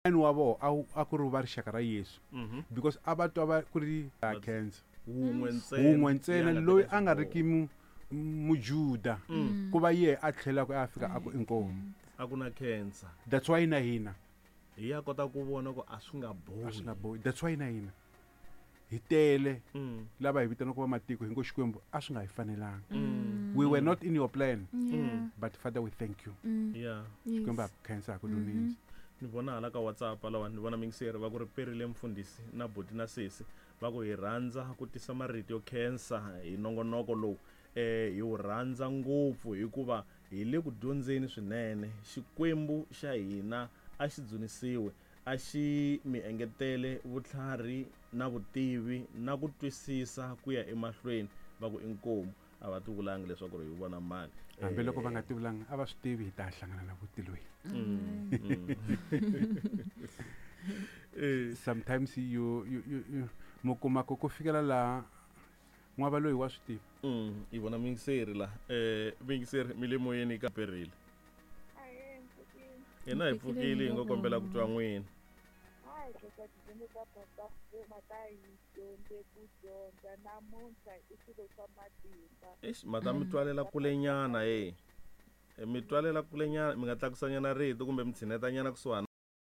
Wa vona a ku ri va rixaka ra Yesu because a va twa va ku ri cancer wun'we ntsena, wun'we ntsena ya nga loyi teka a nga xiboho. riki mujuda ku va yehe a tlhelaka a fika a ku inkomu. A ku na cancer. That's why na hina hi ya kota ku vona ku a swi nga bohi. A swi nga bohi. That's why na hina hi tele lava hi vitanaka va matiko hi ngo Xikwembu a swi nga hi fanelanga. We were not in your plan. But Father, we thank you. Xikwembu ha ku khensa, ha ku dunisa. Ni vona hala ka WhatsApp lawa ni vona mingiseri va ku ri perile mfundhisi na buti na sesi va ku hi rhandza ku tisa marito yo khensa hi nongonoko lowu. Hi wu rhandza ngopfu hikuva hi le ku dyondzeni swinene. Xikwembu xa hina a xi dzunisiwe, a xi mi engetele vutlhari na vutivi na ku twisisa ku ya emahlweni. Va ku inkomu. A va tivulangi leswaku ri hi vona mani. Hambiloko va nga tivulangi, a va swi tivi hi ta hlangana na vutilweni. Sometimes you mi kuma ku fikela laha n'wava loyi wa swi tiva. Hi vona mingiseri la. Mingiseri mi le moyeni ka perile. Hina hi pfukile hi ngo kombela ku twa n'wina. Hayi, khensa tidyondzo ta Papa Fuma ta hi dyondze ku dyondza namuntlha i swilo swa matimba. Eish, mata mi twalela kulenyana, hey. Mi twalela kulenyana, mi nga tlakusanyana rito kumbe mi tshinetanyana kusuhana.